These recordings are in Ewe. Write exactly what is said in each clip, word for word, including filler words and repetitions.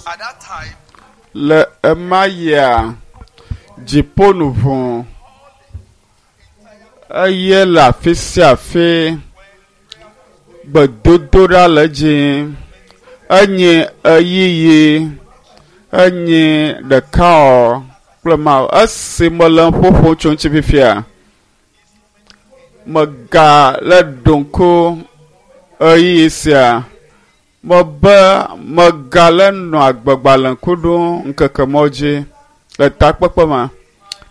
At that time, Le ema yia dziƒo nu ʋu eye le afi sia afi gbedodoɖa le dzi enye ɣeyiɣi enye ɖeka wɔ kple Mawu. Esi mele nu ƒoƒom tso ŋuti fifia, mega le ɖo ŋku ɣeyiɣi sia mebe megale nɔ agbegbalẽ ŋku ɖom ŋkeke mɔ dzi le takpekpe ma.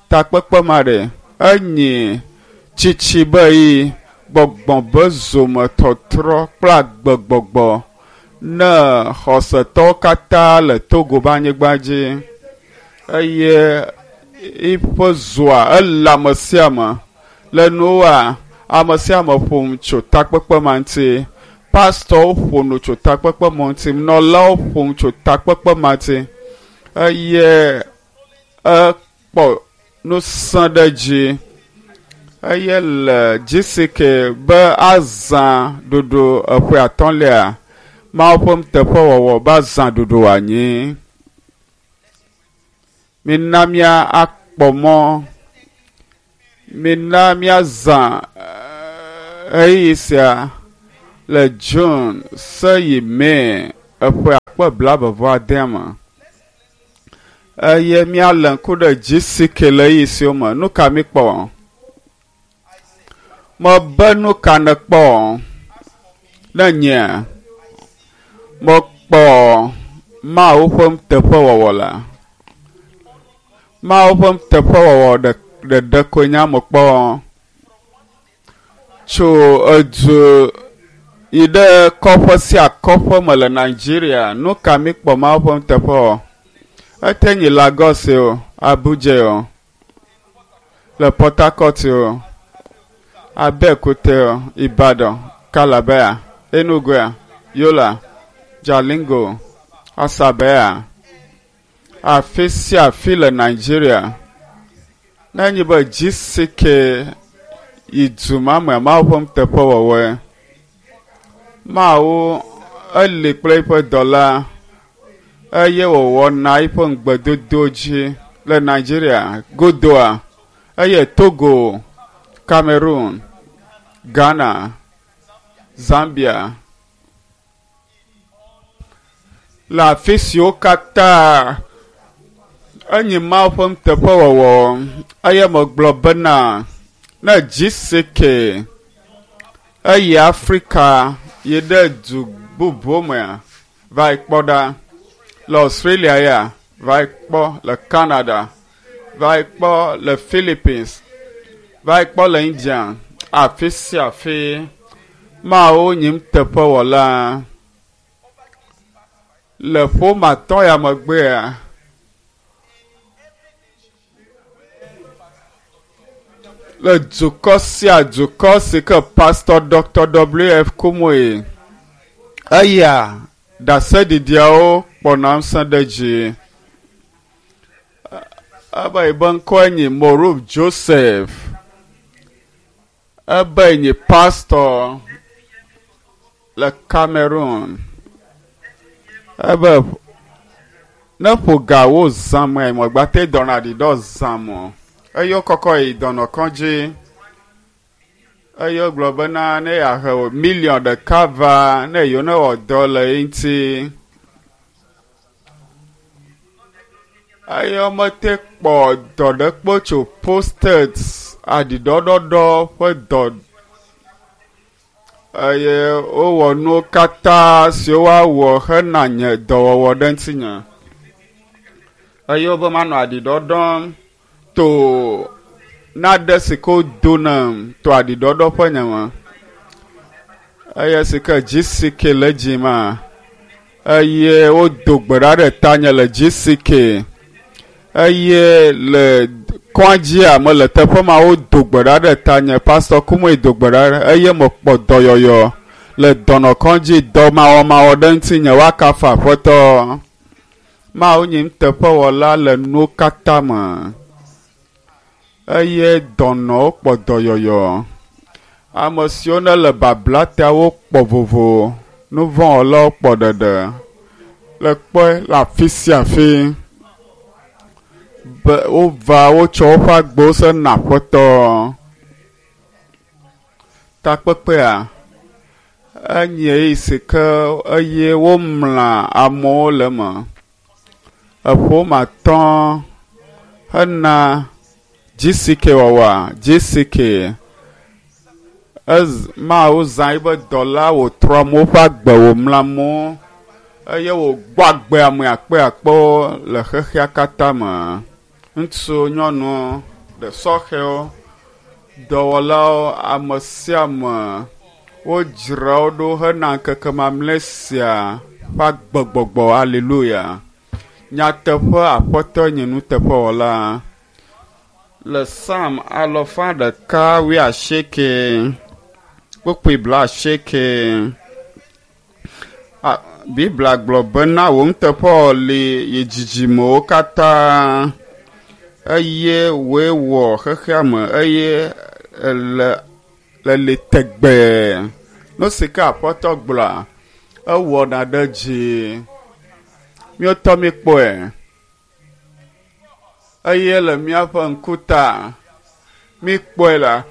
Takpekpe ma ɖe enye tsitsi be ɣeyiɣi, gbɔgbɔ be zometɔtrɔ kple agbegbɔgbɔ ne xɔsetɔwo katã le Togo be anyigba dzi eye eƒe zoa ele ame sia ame. Le nuwoa, ame sia ame ƒo nu tso takpekpe ma ŋuti. Pastɔwo ƒo nu tso takpekpe ma ŋuti, nunɔlawo ƒo nu tso takpekpe ma ŋuti eye ekpɔ ŋusẽ ɖe dzi eye le GCK be azã ɖoɖo eƒe atɔ̃lia Mawu ƒe nuteƒewɔwɔ be azã ɖoɖo wòanyi. Mina mía akpɔ mɔ, mina míazã ɣeyiɣi sia le June se yi May eƒe akpe blaeve vɔ adea me eye míalé ŋku ɖe GCK le ɣeyiɣi siwo me. Nu ka míkpɔ? Mebe nu ka nèkpɔ? Ne nyea, mekpɔ Mawu ƒe nuteƒewɔwɔ la. Mawu ƒe nuteƒewɔwɔ ɖe ɖeɖe koe nye mekpɔ tso edu yi ɖe kɔƒe sia kɔƒe me le Nigeria. Nu ka míkpɔ Mawu ƒe nuteƒewɔwɔ? Ete nyi Lagos o, Abuja o, le Port Harcourt o, Abeokuta o, Ibadan, Calabar, Enugu, Yola, Jalingo, Asaba, afi sia afi le Nigeria. Ne enye be GCK yi du ma me Mawu ƒe nuteƒewɔwɔe. Mawu eli kple eƒe dɔla eye wòwɔna eƒe ŋugbedodo dzi le Nigeria godoa eye Togo, Cameroon, Ghana, Zambia le afi siwo katã enye Mawu ƒe nuteƒewɔwɔ eye megblɔ bena ne GCK eyi Afrika yi ɖe du bubu mea va yi kpɔ ɖa le Australia ya va yi kpɔ le Canada va yi kpɔ le Philippines va yi kpɔ le India afi sia afi Mawu nye nuteƒewɔla. Le ƒome atɔ̃ ya megbea le dukɔ sia dukɔ si ke Pastor Dr. W F Kumuyi eya ɖaseɖiɖiawo kpɔna ŋusẽ ɖe dzi. Ebe yibe ŋkɔe nye Moruf Joseph. Ebe nye pastor le Cameroon. Ebe ne ƒo gawo zã me megba te dɔna ɖi ɖɔ zã me. Eye wokɔkɔ yi dɔnɔkɔdzi. Eye wogblɔ bena ne yeahe miliɔn ɖeka va ne yewo ne wɔ dɔ le eŋuti. Eye womete kpɔ dɔ ɖe kpo tso postet aɖiɖɔɖɔɖɔ ƒe dɔ eye wowɔ nuwo katã siwo woawɔ hena nye dɔwɔwɔ ɖe ŋutinye. Eye wobe manɔ aɖiɖɔɖɔm to nane si ke wodo nam to aɖiɖɔɖɔ ƒe nye me. Eye si ke GCK le dzi ma eye wodo gbe ɖa ɖe tanye le GCK eye le kɔdzia mele teƒe ma wodo gbe ɖa ɖe tanye Pastor Kumuyi do gbe ɖa ɖe eye mekpɔ dɔyɔyɔ le dɔnɔkɔdzi dɔmawɔmawɔ ɖe ŋutinye woakafu Aƒetɔ. Mawu nye nuteƒewɔla le nuwo katã me eye dɔnɔwo kpɔ dɔyɔyɔ. Ame siwo ne le babla ta wokpɔ vovo, nuvɔ̃wɔlawo kpɔ ɖeɖe. Le kpɔe le afi sia afi be wova wotsɔ woƒe agbewo se na Aƒetɔ. Takpekpea enye ɣeyiɣi si ke eye womlã amewo le eme. Eƒe atɔ̃ hena G C K wɔwɔa G C K. Ez Mawu zã eƒe dɔla wòtrɔ amewo ƒe agbe wòmlã amewo eye wògbɔ agbe ame akpeakpewo le xexea katã me. Ŋutsu, nyɔnu, ɖe sɔhɛwo, dɔwɔlawo, ame sia ame wodzra wo ɖo hena ŋkeke mamlɛ sia ƒe agbegbɔgbɔ. Aleluya. Nyateƒe Aƒetɔ nye nuteƒewɔla. Le Psalm alafa ɖeka wuiasieke kpukpui blaasieke. Biblia gblɔ bena wò nuteƒewɔwɔ li yi dzidzimewo katã eye wòe wɔ xexea me eye ele le li tegbee. Nu si ke Aƒetɔ gblɔa, ewɔna ɖe dzi. Míetɔ míekpɔe eye le míaƒe ŋkuta míekpɔe la,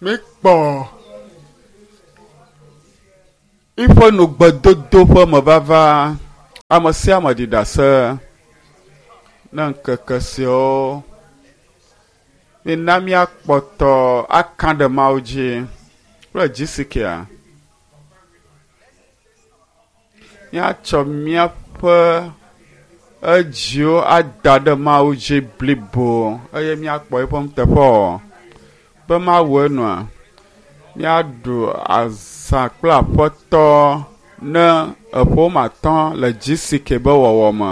míekpɔ eƒe nugbedodo ƒe mevava. Ame sia ame ɖi ɖase ne ŋkeke siawo mina míakpɔtɔ aka ɖe Mawu dzi kple dzi si kea. Míatsɔ míaƒe edziwo ada ɖe Mawu dzi blibo eye míakpɔ eƒe nuteƒewɔwɔ be Mawu enɔa. Míaɖu azã kple Aƒetɔ ne eƒe atɔ̃ le G C K be wɔwɔ me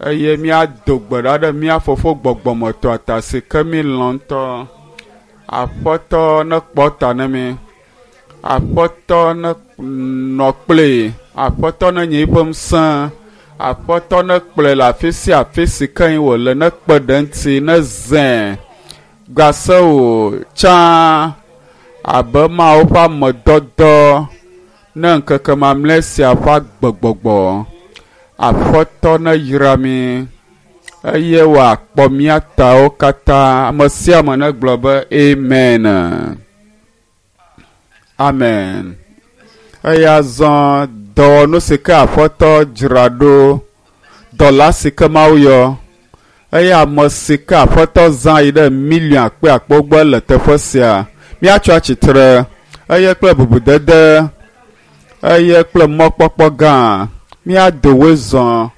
eye míado gbe ɖa ɖe mía fofo gbɔgbɔmetɔ ta si ke mílɔ̃ ŋutɔ. Aƒetɔ nekpɔ ta ne mi. Aƒetɔ nenɔ kpli. Aƒetɔ nenye eƒe ŋusẽ. Aƒetɔ nekplɔe le afi sia afi si ke wòle nekpe ɖe eŋuti nezãe gase wò tsã abe Mawu ƒe amedɔdɔ ne ŋkeke mamlɛ sia ƒe agbegbɔgbɔ. Aƒetɔ neyra mi eye wòakpɔ mía tawo katã. Ame sia ame negblɔ be amen. Amen. Eye azɔ dɔwɔnu si ke Aƒetɔ dzra ɖo, dɔla si ke Mawu yɔ eye ame si ke Aƒetɔ zã yi ɖe miliɔn akpeakpewo gbɔ le teƒe sia. Míatsɔ atsitre eye kple bubudede eye kple mɔkpɔkpɔ gã míado wezɔ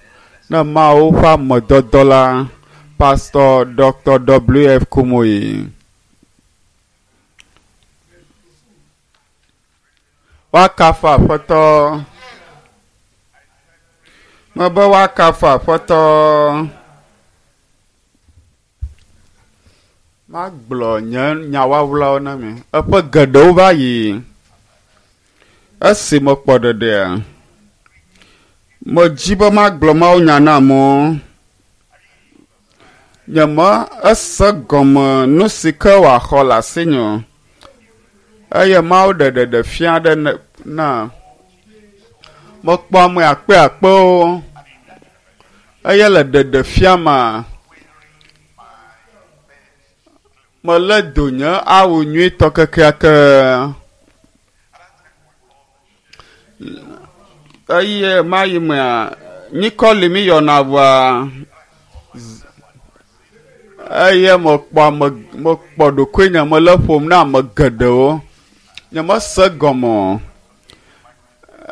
ne Mawu ƒe amedɔdɔ la, Pastor Doctor W F Kumuyi. Woakafu Aƒetɔ. Mebe woakafu Aƒetɔ. Magblɔ nye nyawawlawo na mi. Eƒe geɖewo va yi. Esi mekpɔ ɖeɖea, medzi be magblɔ Mawu nya na amewo. Nye me ese gɔme nu si ke wòaxɔ le asinye o. Eye Mawu ɖe ɖeɖe fia ɖe na. Mekpɔ ame akpeakpewo eye le ɖeɖe fia ma, melé do nye awu nyuitɔ kekeake. Eye mayi mea, nyikɔ li mi yɔna vɔa, eye mekpɔ ame, mekpɔ ɖokuinye mele ƒom na ame geɖewo. Nye mese gɔme o.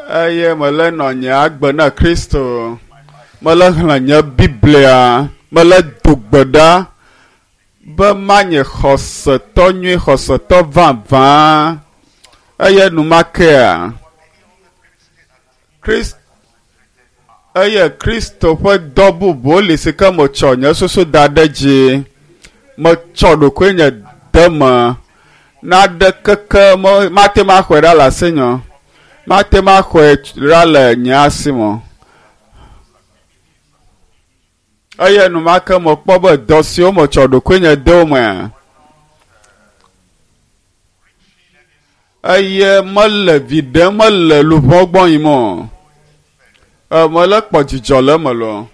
Eye mele nɔ nye agbe na Kristo. Mele xlẽ nye Biblia. Mele do gbe ɖa be manye xɔsetɔ nyui, xɔsetɔ vavã. Eye numakea, Krist-, eye Kristo ƒe dɔ bubu li si ke metsɔ nye susu da ɖe dzi. Metsɔ ɖokuinye de me. Naɖe keke me, mate ŋu axɔe ɖa le asinye o. Mate ŋu axɔe ɖa le nye asi me o. Eye enumake mekpɔ be dɔ siwo metsɔ ɖokuinye de wo mea, eye mele vi ɖem, mele luʋɔ gbɔ yim o. Mele kpɔ dzidzɔ le eme loo.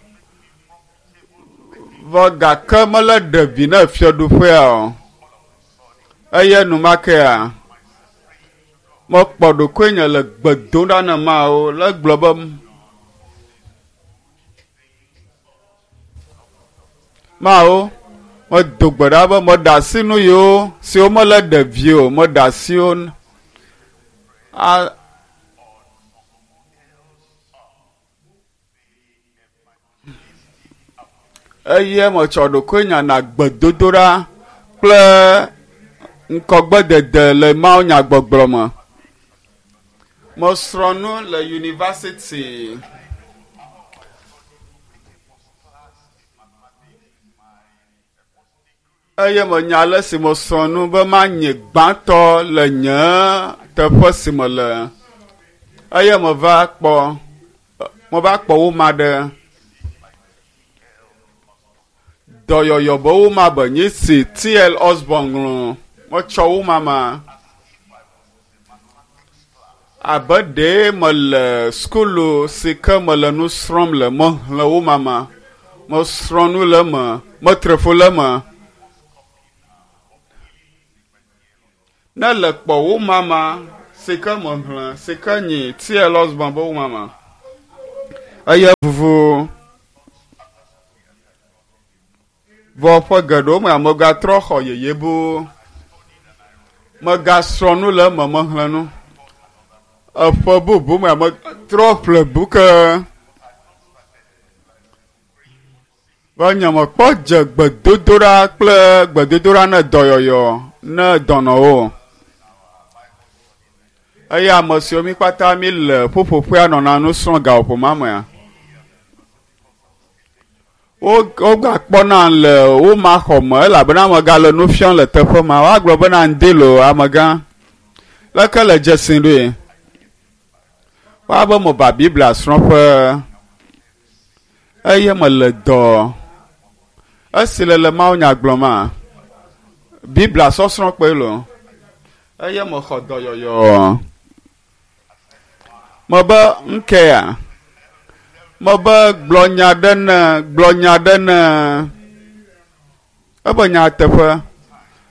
Vɔ gake mele ɖe vi na fiaɖuƒea o. Eye numakea, mekpɔ ɖokuinye le gbe dom ɖa na Mawu le gblɔ be Mawu, medo gbe ɖa be meɖe asi nu yiwo siwo mele ɖe vi o, meɖe asi wo a eye metsɔ ɖokuinye na gbedodoɖa kple ŋkɔgbedede le Mawu nyagbɔgblɔ me. Mesrɔ̃ nu le yunivɛsiti. Eye menya ale si mesrɔ̃ nu be manye gbãtɔ le nye teƒe si mele. Eye meva kpɔ, meva kpɔ woma ɖe. Dɔyɔyɔ be woma be nye si T L Osborn ŋlɔ. Metsɔ woma ma. Abe ɖee mele sukulu si ke mele nu srɔ̃m le, mexlẽ woma ma. Mesrɔ̃ nu le eme, metre fu le eme. Ne le kpɔ woma ma si ke mexlẽ, si ke nyi T L Osborn be woma ma. Eye vuvu. Vɔ ƒe geɖewo me megatrɔ xɔ yeye bu. Megasrɔ̃ nu le eme, mexlẽ nu. Eƒe bubu me metrɔ ƒle bu ke. Vɔ nye mekpɔ dze gbedodoɖa kple gbedodoɖa ne dɔyɔyɔ ne dɔnɔwo. Eye ame siwo mi katã mi le ƒuƒoƒea nɔna nu srɔ̃ gaƒoƒo ma mea. Wo wogakpɔna le woma xɔ me elabena amegã le nu fiam le teƒe ma. Woagblɔ bena ŋdi loo amegã. Leke le dzesi ɖoe? Woabe meva Biblia srɔ̃ƒe eye mele dɔ. Esi le le Mawu nya gblɔm ma, Biblia sɔsrɔ̃ kpe loo. Eye mexɔ dɔyɔyɔ. Mebe ŋkea. Mebe gblɔ nya ɖe ne, gblɔ nya ɖe ne. Ebe nya teƒe.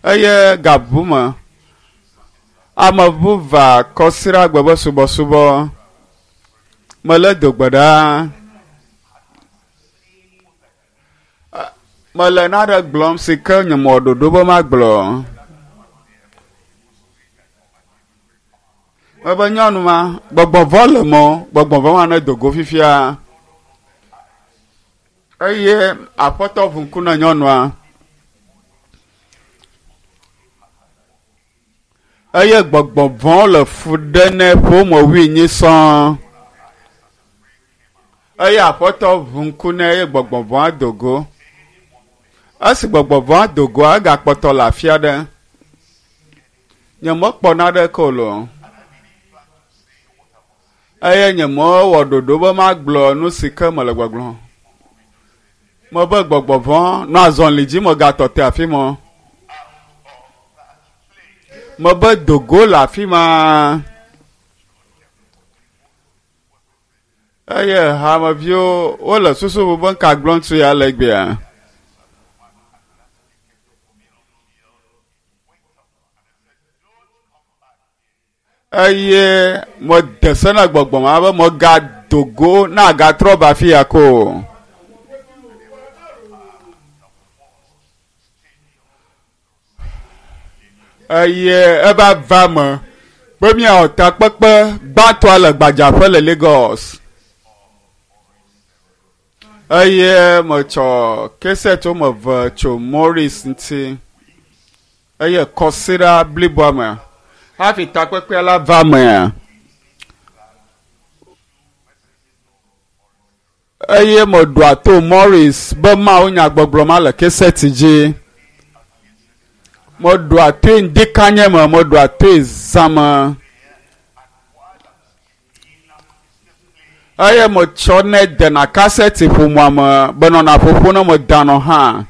Eye gabu me. Ame bu va kɔsiɖagbe be subɔsubɔ. Mele do gbe ɖa. Mele naɖe gblɔm si ke nye mɔ ɖoɖo be magblɔ. Mebe nyɔnu ma, gbɔgbɔ vɔ le mɔ, gbɔgbɔ vɔ ma ne do go fifia. Eye aƒetɔ ʋu ŋku na nyɔnua. Eye gbɔgbɔ vɔ le fu ɖe nɛ ƒome wuienyi sɔŋ. Eye aƒetɔ ʋu ŋku nɛ eye gbɔgbɔ vɔa do go. Esi gbɔgbɔ vɔa do goa, egakpɔtɔ le afi aɖe. Nye mekpɔ naɖeke o loo. Eye nye mewɔ ɖoɖo be magblɔ nu si ke mele gbɔgblɔm. Mebe gbɔgbɔ vɔ nɔ azɔli dzi megatɔ te afi ma. Mebe do go le afi ma. Eye hameviwo wole susu bu be ŋka gblɔm tso ya le egbea. Eye mede se na gbɔgbɔ ma be megado go na agatrɔ va afi ya ko. Eye eva va me be míawɔ takpekpe gbãtɔa le gbadzaƒe le Lagos. Eye metsɔ kasɛt woame eve tso Morris ŋuti. Eye kɔsiɖa bliboa me hafi takpekpea la va mea. Eye meɖoa to Morris be Mawu nyagbɔgblɔ ma le kasɛt dzi. Meɖoa toe ŋdikanye me, meɖoa toe zã me. Eye metsɔnɛ dena kasɛt ƒomea me be nɔna ƒoƒo ne medanɔ hã.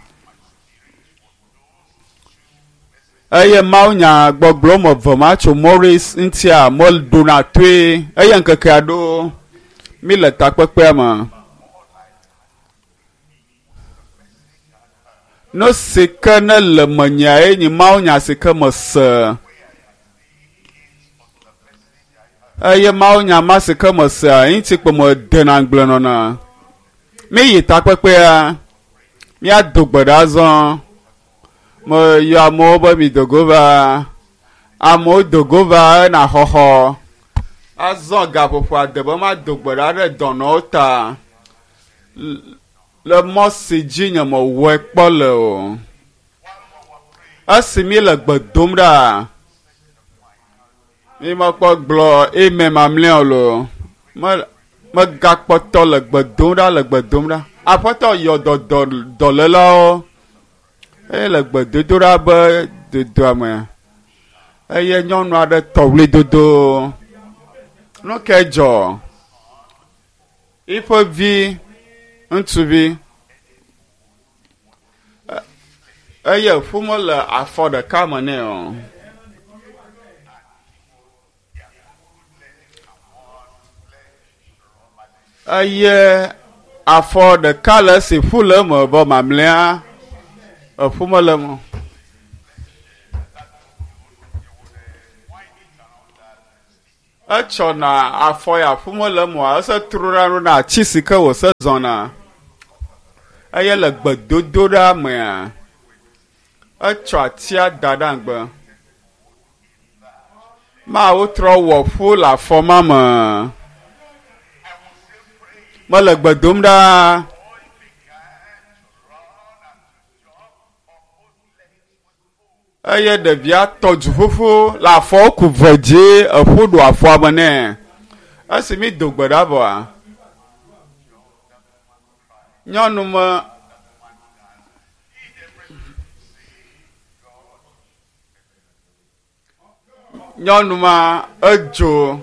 Eye Mawu nyagbɔgblɔ me eve ma tso Morris ŋutia meɖona toe eye ŋkekea ɖo Mi le takpekpea me. Nu si ke ne le menyae nye mawunya si ke mese. Eye mawunya ma si ke mesea eŋuti kpe medena ŋugble nɔna. Mi yi takpekpea, míado gbe ɖa azɔ. Meyɔ amewo be mi do go va. Amewo do go va ena xɔxɔ. Azɔ gaƒoƒo ade be mado gbe ɖa ɖe dɔnɔwo ta. Le mɔ si dzi nye mewɔe kpɔ le o. Esi mi le gbe dom ɖa, mi mekpɔ gblɔ amen mamlɛa o lo. Me megakpɔtɔ le gbe dom ɖa le gbe dom ɖa. Aƒetɔ yɔ dɔ dɔ dɔlélawo eye le gbedodoɖa be dodoa me eye nyɔnu aɖe tɔ ɣlidodo. Nu ke dzɔ? Eƒe vi ŋutsuvi eye ƒu mele afɔ ɖeka me nɛ o. Eye afɔ ɖeka le esi ƒu le eme vɔ mamlɛa eƒu mele eme o. Etsɔna afɔ ya ƒu mele eme oa, ese trona ɖona ati si ke wòse zɔna. Eye le gbedodoɖa mea, etsɔ atia da ɖe anyigba. Mawu trɔ wɔ ƒu le afɔ ma me. Mele gbe dom ɖa. Eye ɖevia tɔ du ƒuƒu le afɔwo ku ve dzi eƒu ɖo afɔa me nɛ. Esi mi do gbe ɖa vɔa, nyɔnu me nyɔnu ma edzo,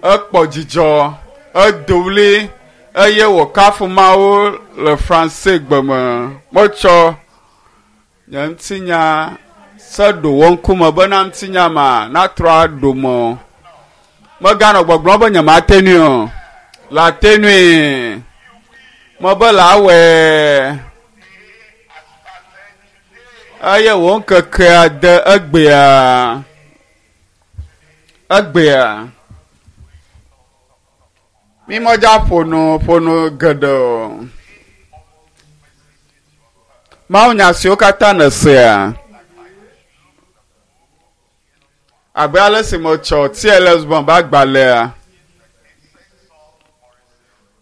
ekpɔ dzidzɔ, edo ɣli eye wòkafu Mawu le Franse gbe me. Metsɔ nye ŋutinya se ɖo wo ŋkume bena ŋutinya ma natrɔ aɖo me. Meganɔ gbɔgblɔm be nyemate ŋui o. Le ate ŋui. Mebe le awɔe. Eye wò ŋkekea de egbea. Egbea. Mi medza ƒo nu ƒo nu geɖe o. Mawunya siwo katã nèsea, abe ale si metsɔ T L Osborn ƒe agbalẽa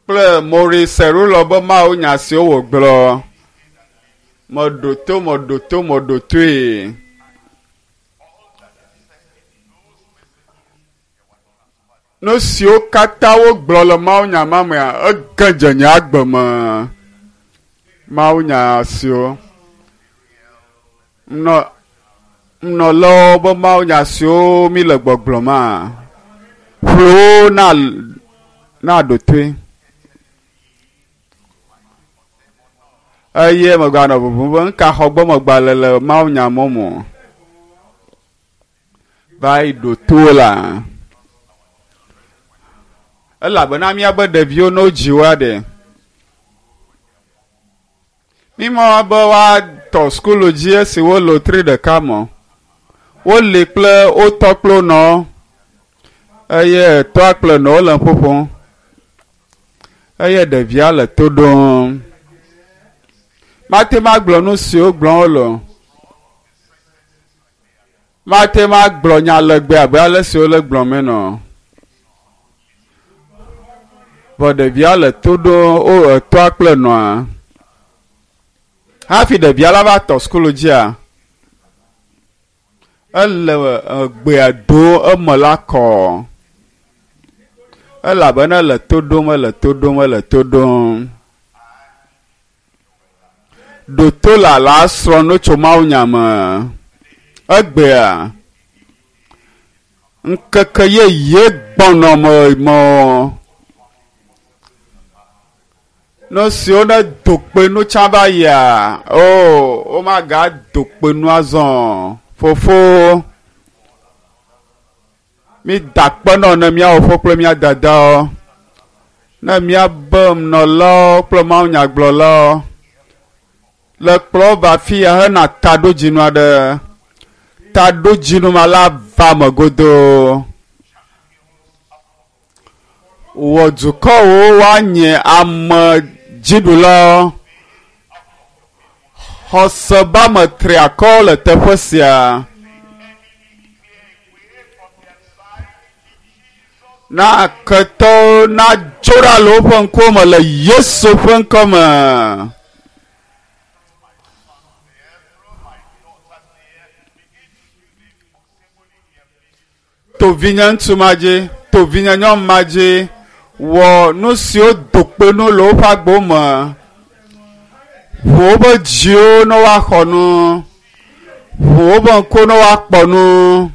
kple Maurice Cerullo be mawunya siwo wògblɔ, meɖo to, meɖo to, meɖo toe. Nu siwo katã wogblɔ le mawunya ma mea, ege dze nye agbe me. Mawunya siwo nɔ nɔlawo be mawunya siwo mi le gbɔgblɔ ma, ƒle wo na na ɖo toe. Eye meganɔ bubum be nuka xɔ gbɔ megbalẽ le mawunya mɔmɔ. Va yi ɖo to la. Elabena míabe ɖeviwo ne wodzi woa ɖe. Mi mɔ be woatɔ sukulu dzi esi wole tri ɖeka me. Woli kple wotɔ kple wonɔ eye tɔa kple nɔwo le ƒoƒom. Eye ɖevia le to ɖom. Mate ŋu agblɔ nu siwo gblɔm wole o. Mate ŋu agblɔ nya legbe abe ale si wole gblɔm ene o. Vɔ ɖevia le to ɖom wo etɔa kple nɔa. Hafi ɖevia la va tɔ sukulu dzia, ele egbea do eme la kɔ. Elabena ele to ɖom, ele to ɖom, ele to ɖom. Ɖo to la la srɔ̃ nu tso mawunya me. Egbea, ŋkeke yeye gbɔnɔ me me. Nu siwo ne do kpe nu tsã va yia, o womagado kpe nu azɔ. Fofo, mi da akpe nɔ ne míawo fofo kple mía dadawo. Ne míabe nɔlawo kple mawunyagblɔlawo le kplɔ va afi ya hena taɖodzinu aɖe. Taɖodzinu ma la va me godoo. Wɔ dukɔwo woanye ame dziɖulawo. Xɔse be ame triakɔ le teƒe sia. Na ketɔwo nadzo ɖa le woƒe ŋkuwo me le Yesu ƒe ŋkɔ me. To vinye ŋutsu ma dzi, to vinye nyɔnu ma dzi, wɔ nu siwo do kpe nu le woƒe agbewo me. Ʋu woƒe dziwo ne woaxɔ nu. Ʋu woƒe ŋkuwo ne woakpɔ nu.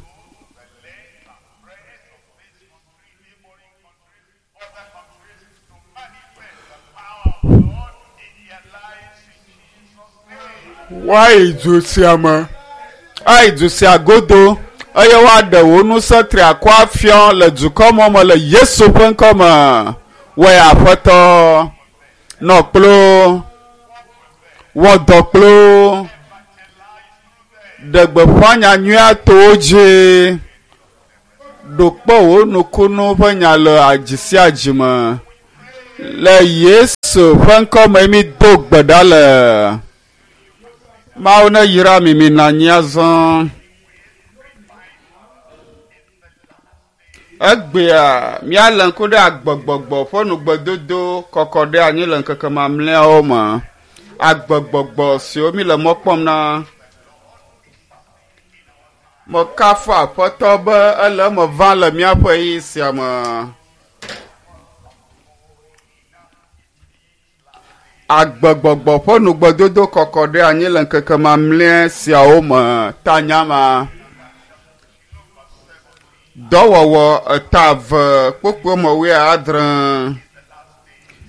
Woayi du sia me, ayi du sia godo eye woaɖe wò ŋusẽ triakɔ afia le dukɔ mɔ me le Yesu ƒe ŋkɔ me. Wɔe Aƒetɔ, nɔ kplo, wɔ dɔ kplo, ɖe gbeƒã nya nyuia to wo dzi. Ɖo kpe wò nukunu ƒe nya le dzi sia dzi me. Le Yesu ƒe ŋkɔ me mi do gbe ɖa le. Mawu ne yra mi mi nɔ anyi azɔ. Egbea míalé ŋku ɖe agbegbɔgbɔ ƒe nugbedodo kɔkɔ ɖe anyi le ŋkeke mamlɛawo me. Agbegbɔgbɔ siwo mi le mɔ kpɔm na. Mekafu Aƒetɔ be ele eme vam le míaƒe ɣeyiɣi sia me. Agbegbɔgbɔ ƒe nugbedodo kɔkɔ ɖe anyi le ŋkeke mamlɛ siawo me tanya ma. Dɔwɔwɔ eta eve kpukpui me wuiadre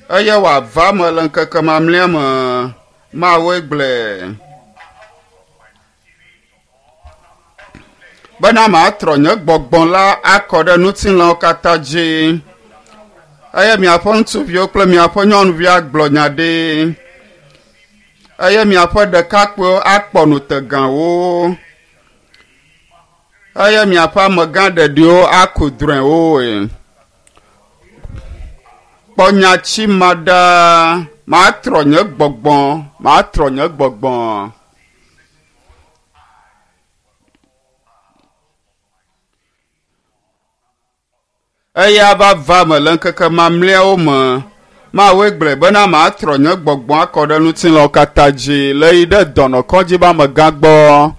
eye wòava me le ŋkeke mamlɛa me. Mawue gblɔe. Bena matrɔ nye gbɔgbɔ la akɔ ɖe ŋutilãwo katã dzi. Eye miaƒe ŋutsuviwo kple miaƒe nyɔnuviwo agblɔ nya ɖi. Eye miaƒe ɖekakpuiwo akpɔ nutegawo. Eye miaƒe amegã ɖeɖiwo aku drɔ̃ewo. Kpɔ nyatsi ma ɖa. Matrɔ nye gbɔgbɔ, matrɔ nye gbɔgbɔ. Eya va va me le ŋkeke mamlɛawo me. Mawue gblɔe bena matrɔ nye gbɔgbɔ akɔ ɖe ŋutilãwo katã dzi le yi ɖe dɔnɔkɔdzi be amegã gbɔ.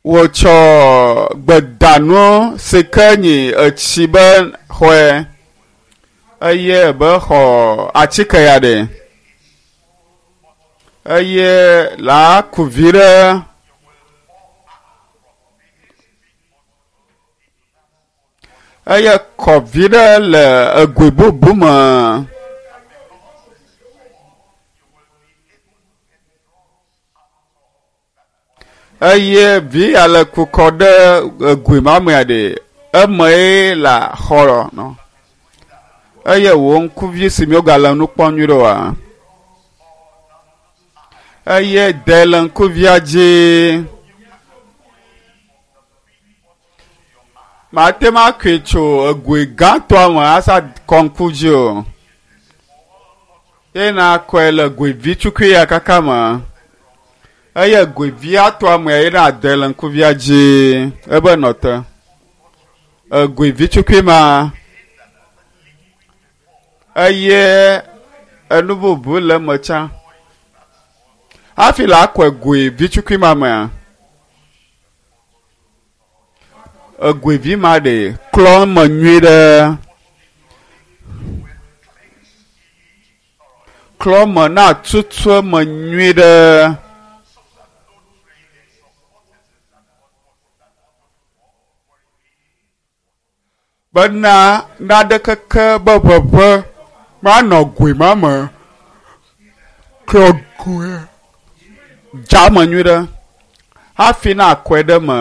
Wotsɔ gbedanu si ke nyi etsi be xɔe eye be xɔ atike ya ɖe eye la ku vi ɖe. Eye kɔ vi ɖe le egoe bubu me. Eye vi ya le kukɔ ɖe egoe ma mea ɖe eme la xɔ nɔ. Eye wò ŋkuvi si miwogale nu kpɔm nyuie ɖe oa. Eye de le ŋkuvia dzi. Mate ŋu akɔe tso egoe gãtɔa me asa kɔ ŋku dzi o. Ye nakɔe le goe vi tukui ya kaka me. Eye goe via tɔa me ye na de le ŋkuvia dzi ebe nɔ te. Egoe vi tukui ma eye enu bubu le eme tsã. Hafi la akɔe goe vi tukui ma mea, egoe vi ma ɖe klɔ eme nyuie ɖe. Klɔ me na tutu eme nyuie ɖe. Bena naɖekeke be ʋeʋẽ manɔ goe ma me. Klɔ goe dza eme nyuie ɖe hafi na kɔe ɖe me.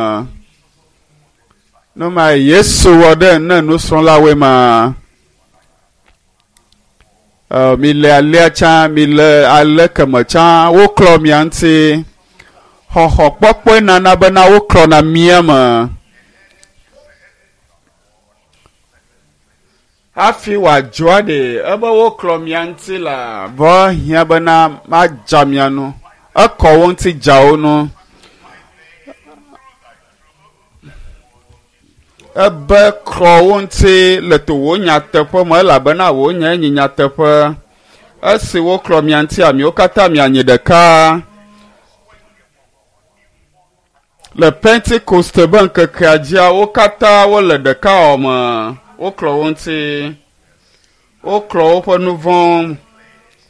Nu ma Yesu wɔ ɖe ne nusrɔ̃lawoe ma. Ɔ, mi le alea tsã, mi le ale keme tsã, woklɔ mia ŋuti. Xɔxɔ kpɔkpɔe nana bena woklɔna mía me. Hafi wòadzɔa ɖe ebe woklɔ mia ŋuti la, vɔ hiã bena madza mia nu. Ekɔ wo ŋuti dza wo nu. Ebe klɔ wo ŋuti le to wò nyateƒe me elabena wò nyae nye nyateƒe. Esi woklɔ mia ŋuti miwo katã mianyi ɖeka. Le Pentekoste be ŋkekea dzia, wo katã wole ɖekawɔwɔ me. Woklɔ wo ŋuti. Woklɔ woƒe nu vɔ̃wo.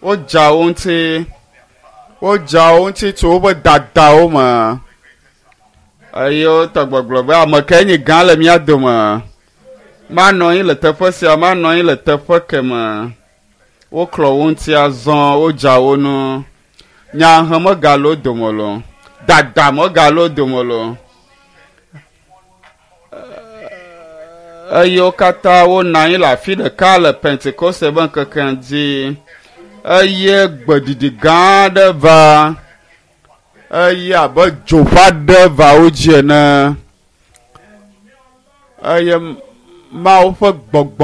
Wodza wo ŋuti. Wodza wo ŋuti tso woƒe dadawo me. Eye wotɔ gbɔgblɔ be ame kae nye gã le mía dome? Manɔ anyi le teƒe sia, manɔ anyi le teƒe keme. Woklɔ wo ŋuti azɔ, wodza wo nu. Nyahe megale wo dome lo. Dada megale wo dome lo. Eye wo katã wonɔ anyi le afi ɖeka le Pentekoste be ŋkekea dzi. Eye gbeɖiɖi gã aɖe va. Eye abe dzo ƒe aɖe va wo dzi ene. Eye Mawu ƒe gbɔgbɔ